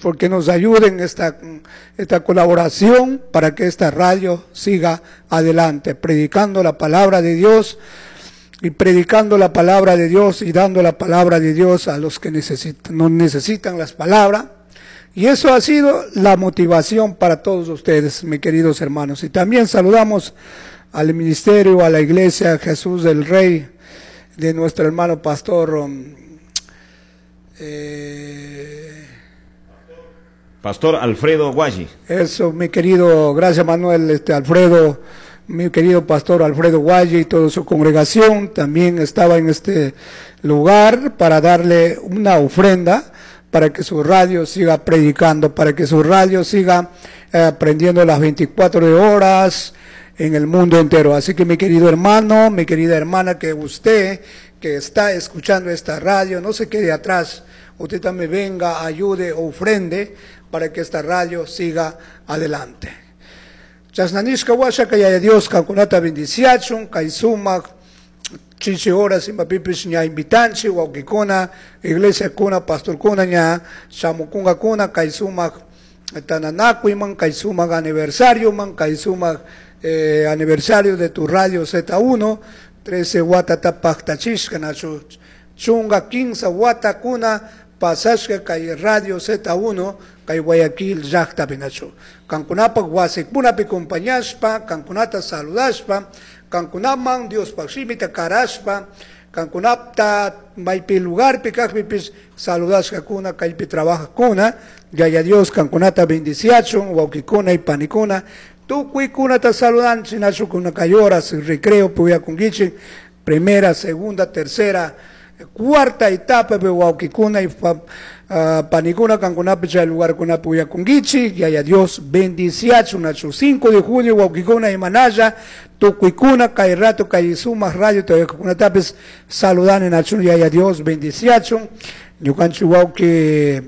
Porque nos ayuden esta colaboración para que esta radio siga adelante, predicando la palabra de Dios y predicando la palabra de Dios y dando la palabra de Dios a los que necesitan, no necesitan las palabras. Y eso ha sido la motivación para todos ustedes, mis queridos hermanos. Y también saludamos al ministerio, a la iglesia Jesús del Rey, de nuestro hermano pastor Pastor Alfredo Guayi. Eso, mi querido, gracias Manuel, Alfredo, mi querido pastor Alfredo Guayi y toda su congregación también estaba en este lugar para darle una ofrenda para que su radio siga predicando, para que su radio siga aprendiendo las 24 horas en el mundo entero. Así que mi querido hermano, mi querida hermana, que usted que está escuchando esta radio, no se quede atrás, usted también venga, ayude, ofrende para que esta radio siga adelante. Chashna nishka huasha Yaya Dios kankunata bendiciachun, kay sumak, chichi horas imapipish ña invitanchik, wawkikuna, iglesiakuna, pastorkuna ña shamukunkakuna, kay sumak tananakuyman, kay sumak aniversarioman, kay sumak aniversario de tu radio Z1, 13 watata paktachishka, nachu chunga 15 watakuna pasashka kay radio Z1, kay Guayaquil llaqtapi nachu. Kankunapak wasikunapi compañashpa, kankunata saludashpa, kankunaman Diospaq shimita karashpa, kankunapta maypi lugarpi kaqpipis saludashkakuna, kaypi trabajaqkuna, Yaya Dios kankunata bendiciachun, wawkikuna y panikuna, tukuykunata saludanchik, nachu kuna kay horas recreo puyakunkichik, primera, segunda, tercera, cuarta etapa pe wawkikuna y panikuna kankunapi chay lugarkunapi uyakunkichik, Yaya Dios bendiciachun, nachu 5 de junio wawkikuna imanalla, tukuykuna kay rato kay sumak radio todavía saludani nachu Yaya Dios bendiciachun, ñukanchik wawki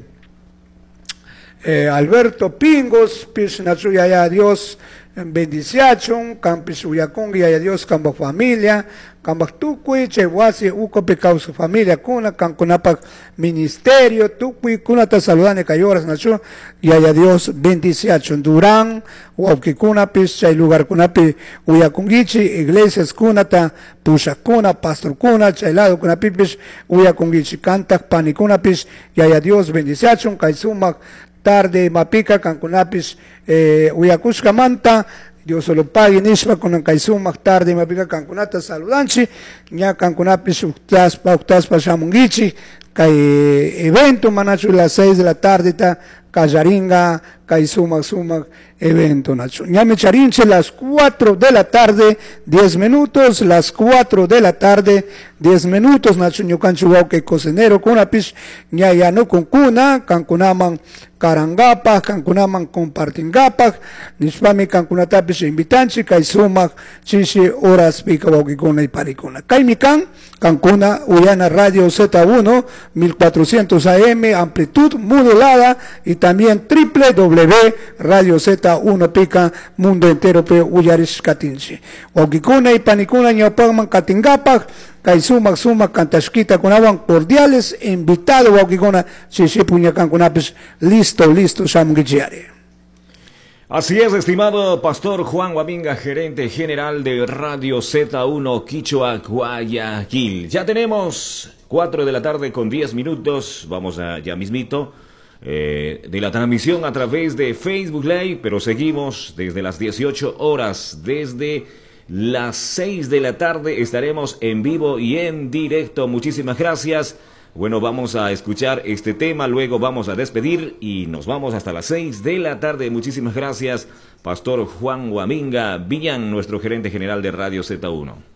Alberto Pingos, pish nachu Yaya Dios bendiciachun, kanpish uyakunki Yaya Dios kanpak familia, kanpak tukuy chay wasi ukupi kawsak familia kuna, kankunapak ministerio, tukuy kunata saludani kay horas nachu Yaya Dios bendiciachun. Durán, wawkikunapish chay lugarkunapi uyakunkichik, iglesias kunata, pushakuna, pastorkuna, chay lado kunapipish uyakunkichik, kantak panikunapish Yaya Dios bendiciachun, kay sumak tarde mapika kankunapish uyakushkamanta Dios lo pague nishpa kunan kay sumak tarde mapika kankunata saludanchik, ña kankunapish uktaspa uktaspa shamunkichik kay evento manachu las 6 de la tarde ta kallaringa kay sumak sumak evento nachu. Ñami charinche las 4 de la tarde 10 minutos, las 4 de la tarde 10 minutos nachu ñukanchik wawqi cocinero kunapish ña yanukunkuna kankunaman karangapak, kankunaman compartingapak, nishpami kankunatapish invitanchik kay sumak chishi horaspika wawqikuna y panikuna. Kaymi kan kankuna uyana Radio Z1 1400 AM amplitud modulada y también triple W Radio Z1 pica mundo entero pe uyarishkatinchi. Wawqikuna y panikuna ñawpakman katingapak kay sumak sumak kantashkita kunawan cordiales invitado wawqikuna chishi puña kankunapis listo listo shamunkichiyari. Así es, estimado pastor Juan Guaminga, gerente general de Radio Z1 Quichua Guayaquil. Ya tenemos 4 de la tarde con 10 minutos, vamos a ya mismito de la transmisión a través de Facebook Live, pero seguimos desde las 18 horas, desde las 6 de la tarde estaremos en vivo y en directo. Muchísimas gracias. Bueno, vamos a escuchar este tema, luego vamos a despedir y nos vamos hasta las 6 de la tarde. Muchísimas gracias, Pastor Juan Guaminga Villán, nuestro gerente general de Radio Z1.